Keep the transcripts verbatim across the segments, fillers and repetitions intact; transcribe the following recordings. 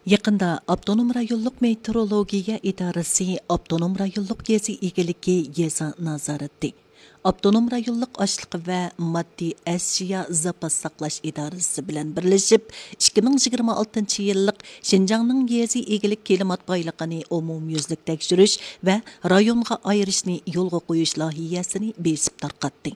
يېقىندا ئاپتونوم رايونلۇق مېتېئورولوگىيە ئىدارىسى ئاپتونوم رايونلۇق يېزا ئىگىلىكى يېزا نازارىتى، ئاپتونوم رايونلۇق ئاشلىق ۋە ماددىي ئەشيا زاپاس ساقلاش ئىدارىسى بىلەن بىرلىشىپ، ئىككى مىڭ يىگىرمە ئالتىنچى يىللىق شىنجاڭنىڭ يېزا ئىگىلىك كىلىمات بايلىقىنى ئومۇميۈزلۈك تەكشۈرۈش ۋە رايونغا ئايرىشنى يولغا قويۇش لايىھەسىنى بېسىپ تارقاتتى.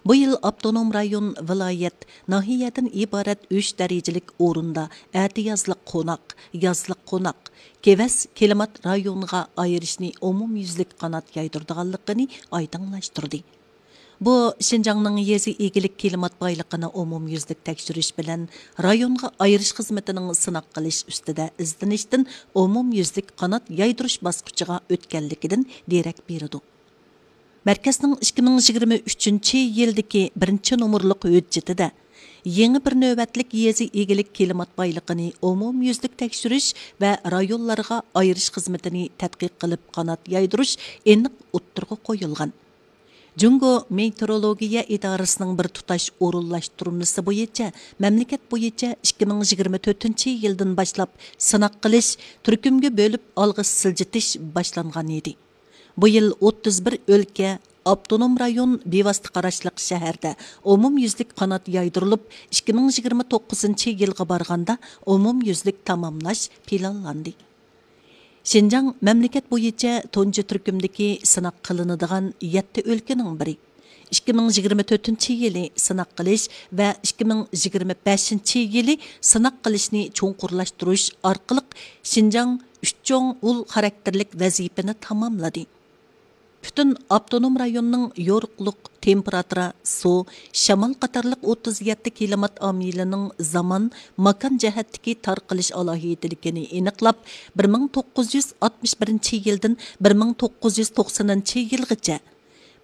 بۇ يىل ئاپتونوم رايون، ۋىلايەت، ناھىيەدىن ئىبارەت ئۈچ دەرىجىلىك ئورۇندا ئەتىيازلىق قوناق، يازلىق قوناق، كېۋەز كىلىمات رايونىغا ئايرىشنى ئومۇميۈزلۈك قانات يايدۇرىدىغانلىقىنى ئايدىڭلاشتۇردى. بۇ، شىنجاڭنىڭ يېزا ئىگىلىك كىلىمات بايلىقىنى ئومۇميۈزلۈك تەكشۈرۈش بىلەن رايونغا ئايرىش خىزمىتىنىڭ سىناق قىلىش ئۈستىدە ئىزدىنىشتىن ئومۇميۈزلۈك قانات يايدۇرۇش باسقۇچىغا ئۆتكەنلىكىدىن دېرەك بېرىدۇ. مەركەزنىڭ ئىككى مىڭ يىگىرمە ئۈچىنچى يىلدىكى بىرىنچى نومۇرلۇق ھۆججىتىدە، يېڭى بىر نۆۋەتلىك يېزا ئىگىلىك كىلىمات بايلىقىنى ئومۇميۈزلۈك تەكشۈرۈش ۋە رايونلارغا ئايرىش خىزمىتىنى تەتقىق قىلىپ قانات يايدۇرۇش ئېنىق ئوتتۇرىغا قويۇلغان. جۇڭگو مېتېئورولوگىيە ئىدارىسىنىڭ بىر تۇتاش ئورۇنلاشتۇرمىسى بويىچە مەملىكەت بويىچە ئىككى مىڭ يىگىرمە تۆتىنچى يىلدىن باشلاپ سىناق قىلىش، تۈركۈمگە بۆلۈپ ئالغا سىلجىتىش باشلانغان ئىدى. بۇ يىل ئوتتۇز بىر ئۆلكە، ئاپتونوم رايون، بىۋاسىتە قاراشلىق شەھەردە ئومۇميۈزلۈك قانات يايدۇرۇلۇپ، ئىككى مىڭ يىگىرمە توققۇزىنچى يىلغا بارغاندا ئومۇميۈزلۈك تاماملاش پىلانلاندى. شىنجاڭ مەملىكەت بويىچە تۇنجى تۈركۈمدىكى سىناق قىلىنىدىغان يەتتە ئۆلكىنىڭ بىرى. ئىككى مىڭ يىگىرمە تۆتىنچى يىلى سىناق قىلىش ۋە ئىككى مىڭ يىگىرمە بەشىنچى يىلى سىناق قىلىشنى چوڭقۇرلاشتۇرۇش ئارقىلىق شىنجاڭ ئۈچ چوڭ ئۇل خاراكتېرلىك ۋەزىپىنى تاماملىدى. پۈتۈن ئاپتونوم رايوننىڭ يورۇقلۇق، تېمپېراتۇرا، سۇ، شامال قاتارلىق ئوتتۇز يەتتە كىلىمات ئامىلىنىڭ زامان، ماكان جەھەتتىكى تارقىلىش ئالاھىدىلىكىنى ئېنىقلاپ، بىر مىڭ توققۇز يۈز ئاتمىش بىرىنچى يىلدىن بىر مىڭ توققۇز يۈز توقسىنىنچى يىلغىچە،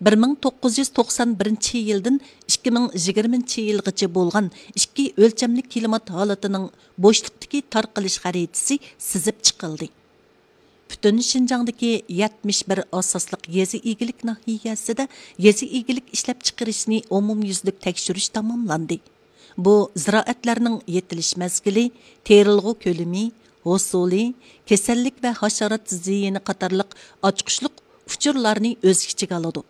بىر مىڭ توققۇز يۈز توقسان بىرىنچى يىلدىن ئىككى مىڭ يىگىرمىنچى يىلغىچە بولغان ئىككى ئۆلچەملىك كىلىمات ھالىتىنىڭ بوشلۇقتىكى تارقىلىش خەرىتىسى سىزىپ چىقىلدى. پۈتۈن شىنجاڭدىكى يەتمىش بىر ئاساسلىق يېزا ئىگىلىك ناھىيەسىدە يېزا ئىگىلىك ئىشلەپچىقىرىشنى ئومۇميۈزلۈك تەكشۈرۈش تاماملاندى. بۇ زىرائەتلەرنىڭ يېتىلىش مەزگىلى، تېرىلغۇ كۆلىمى، ھوسۇلى، كېسەللىك ۋە ھاشارات زىيىنى قاتارلىق ئاچقۇچلۇق ئۇچۇرلارنى ئۆز ئىچىگە ئالىدۇ.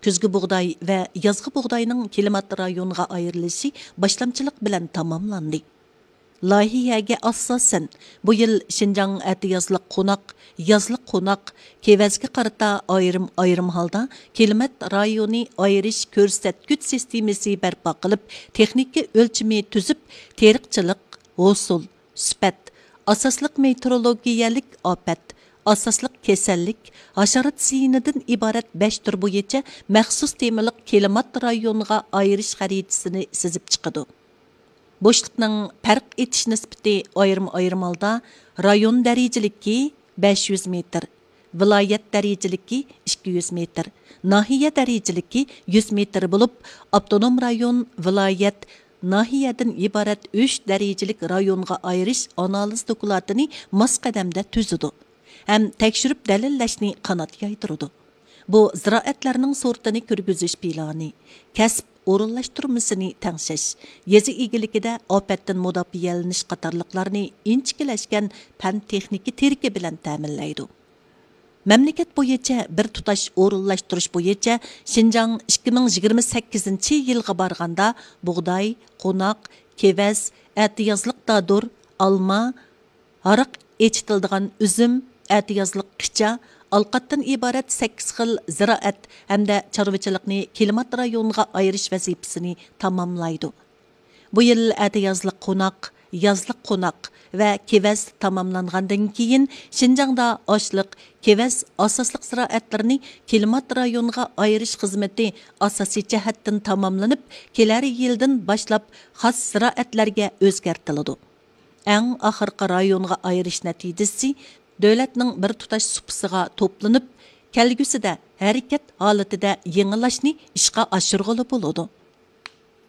كۈزگى بۇغداي ۋە يازغى بۇغداينىڭ كىلىمات رايونغا ئايرىلىشى باشلامچىلىق بىلەن تاماملاندى. لايىھەگە ئاساسەن، بۇ يىل شىنجاڭ ئەتىيازلىق قوناق، يازلىق قوناق، كېۋەزگە قارىتا ئايرىم-ئايرىم ھالدا كىلىمات رايونى ئايرىش كۆرسەتكۈچ سىستېمىسى بەرپا قىلىپ، تېخنىكا ئۆلچىمى تۈزۈپ، تېرىقچىلىق، ھوسۇل، سۈپەت، ئاساسلىق مېتېئورولوگىيەلىك ئاپەت، ئاساسلىق كېسەللىك، ھاشارات زىيىنىدىن ئىبارەت بەش تۈر بويىچە مەخسۇس تېمىلىق كىلىمات رايونىغا ئايرىش خەرىتىسىنى سىزىپ چىقىدۇ. بوشلۇقنىڭ پەرق ئېتىش نىسبىتى ئايرىم-ئايرىم ھالدا رايون دەرىجىلىكى بەش يۈز مېتىر، ۋىلايەت دەرىجىلىكى ئىككى يۈز مېتىر، ناھىيە دەرىجىلىكى يۈز مېتىر بولۇپ، ئاپتونوم رايون، ۋىلايەت، ناھىيەدىن ئىبارەت ئۈچ دەرىجىلىك رايونغا ئايرىش ئانالىز دوكلاتىنى ماس قەدەمدە تۈزىدۇ ھەم تەكشۈرۈپ دەلىللەشنى قانات يايدۇرىدۇ. بۇ زىرائەتلەرنىڭ سورتىنى كىرگۈزۈش پىلانى، كەسىپ ئورۇنلاشتۇرمىسىنى تەڭشەش، يېزا ئىگىلىكىدە ئاپەتتىن مۇداپىئەلىنىش قاتارلىقلارنى ئىنچىكىلەشكەن پەن تېخنىكا تىرىكى بىلەن تەمىنلەيدۇ. مەملىكەت بويىچە بىر تۇتاش ئورۇنلاشتۇرۇش بويىچە شىنجاڭ ئىككى مىڭ يىگىرمە سەككىزىنچى يىلغا بارغاندا بۇغداي، قوناق، كېۋەز، ئەتىيازلىق دادۇر، ئالما، ھاراق ئېچىتىلىدىغان ئۈزۈم، ئەتىيازلىق قىچا، ئالقاتتىن ئىبارەت سەككىز خىل زىرائەت ھەمدە چارۋىچىلىقنى كىلىمات رايونىغا ئايرىش ۋەزىپىسىنى تاماملايدۇ. بۇ يىل ئەتىيازلىق قوناق، يازلىق قوناق ۋە كېۋەز تاماملانغاندىن كېيىن، شىنجاڭدا ئاشلىق، كېۋەز ئاساسلىق زىرائەتلىرىنى كىلىمات رايونىغا ئايرىش خىزمىتى ئاساسىي جەھەتتىن تاماملىنىپ، كېلەر يىلدىن باشلاپ خاس زىرائەتلەرگە ئۆزگەرتىلىدۇ. ئەڭ ئاخىرقى رايونغا ئايرىش نەتىجىسى دۆلەتنىڭ بىر تۇتاش سۇپىسىغا توپلىنىپ، كەلگۈسىدە ھەرىكەت ھالىتىدە يېڭىلاشنى ئىشقا ئاشۇرغىلى بولىدۇ.